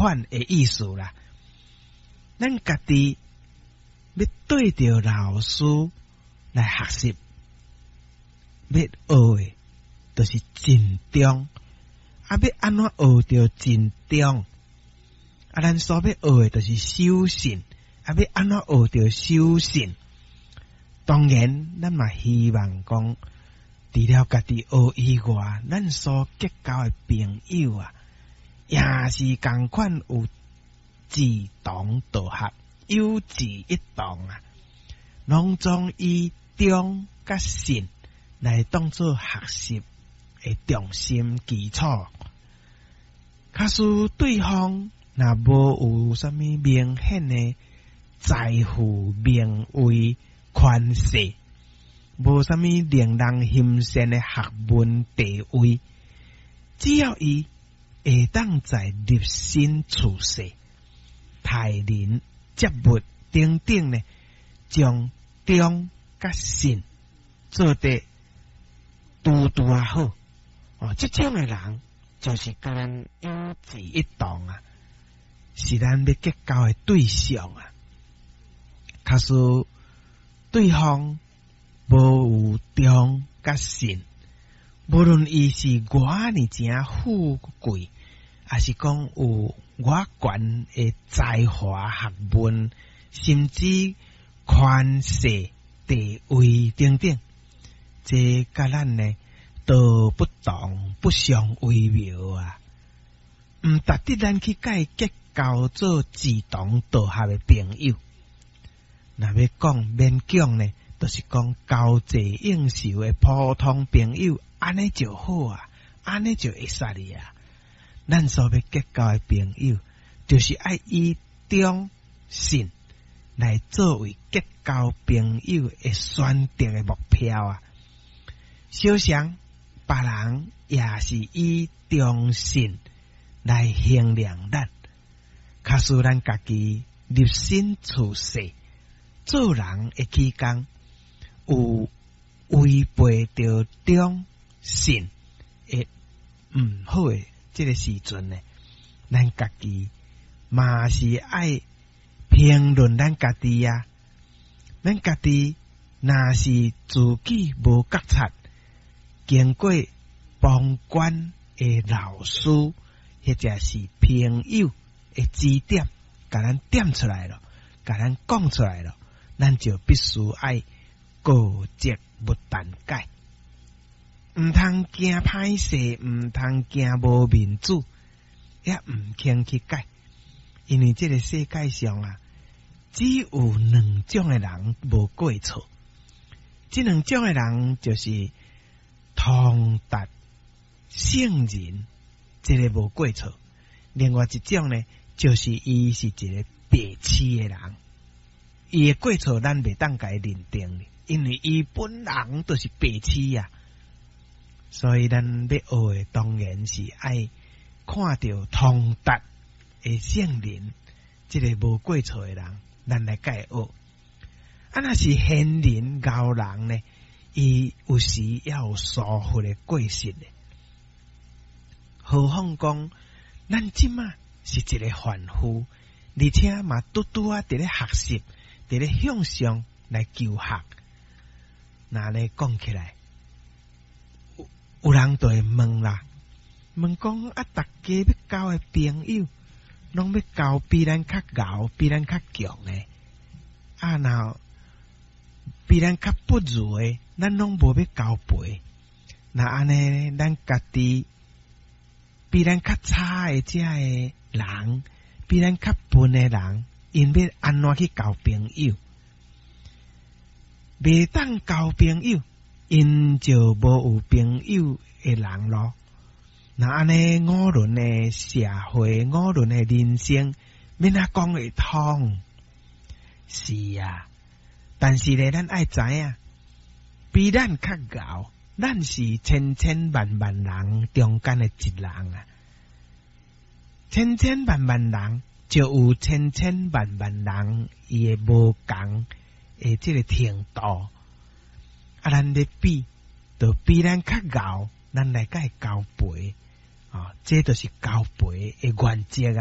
款的意思啦。咱家己欲對著老師來學習，欲學的，就是盡忠。啊，欲按怎學著盡忠？啊，咱所欲學的，就是守信。啊，欲按怎學著守信？當然，咱嘛希望講，除了家己學以外，咱所結交的朋友啊，也是仝款有志同道合、有志一同啊，攏總以忠佮信來當做學習的重心基礎。假使對方若無有啥物明顯的財富、名位、權勢，無啥物令人歆羨的學問地位，只要伊會當在立身處世、待人接物等等呢，將忠佮信做得拄拄仔好，哦，這種的人就是佮咱有志一同啊，是咱欲結交的對象啊。假使對方無有忠佮信，無論伊是偌爾誠富貴，抑是講有偌懸的才華學問，甚至權勢地位等等，這佮咱呢道不同不相為謀啊！毋值得咱去共伊結交做志同道合的朋友。若欲講勉強呢，就是講交際應酬的普通朋友，按呢就好啊，按呢就會使哩啊。咱所欲結交的朋友，就是愛以忠信來作為結交朋友的選擇的目標啊。相信別人也是以忠信來衡量咱，假使咱家己立身處世做人的期間，有違背著忠信的毋好的這个時陣呢，咱家己嘛是愛評論咱家己啊。咱家己若是自己無覺察，經過旁觀的老師或者是朋友的指點，共咱點出來囉，共咱講出來囉，咱就必須愛過則不但改，毋通驚歹勢，毋通驚無面子，也毋肯去改，因為這个世界上啊，只有兩種的人無過錯，這兩種的人就是通達聖人，這个無過錯；另外一種呢，就是伊是一个白痴的人，伊的過錯咱袂當共伊認定，因為伊本人就是白痴啊。所以咱欲學的當然是愛看著通達的聖人，這个無過錯的人，咱來共伊學。啊，若是賢人賢人呢，伊有時也有疏忽的過失的。何況講，咱這馬是一个凡夫，而且嘛拄拄仔佇咧學習，佇咧向上來求學。若按呢講起來，有人就會問啦，問講啊，逐家欲交的朋友，攏欲交比咱較𠢕、比咱較強的，啊，若比咱較不如的，咱攏無欲交陪。若按呢，咱家己比咱較差的這个人，比咱較笨的人，𪜶欲按怎去交朋友？袂當交朋友，𪜶就無有朋友的人囉。若按呢五倫的社會，五倫的人生，欲按怎講會通？是啊，但是咧，咱愛知影，比咱較𠢕，咱是千千萬萬人中間的一人啊。千千萬萬人就有千千萬萬人伊的無仝的這个程度。啊，咱咧比，就比咱較𠢕，咱來共伊交陪，哦，這就是交陪的原則啊。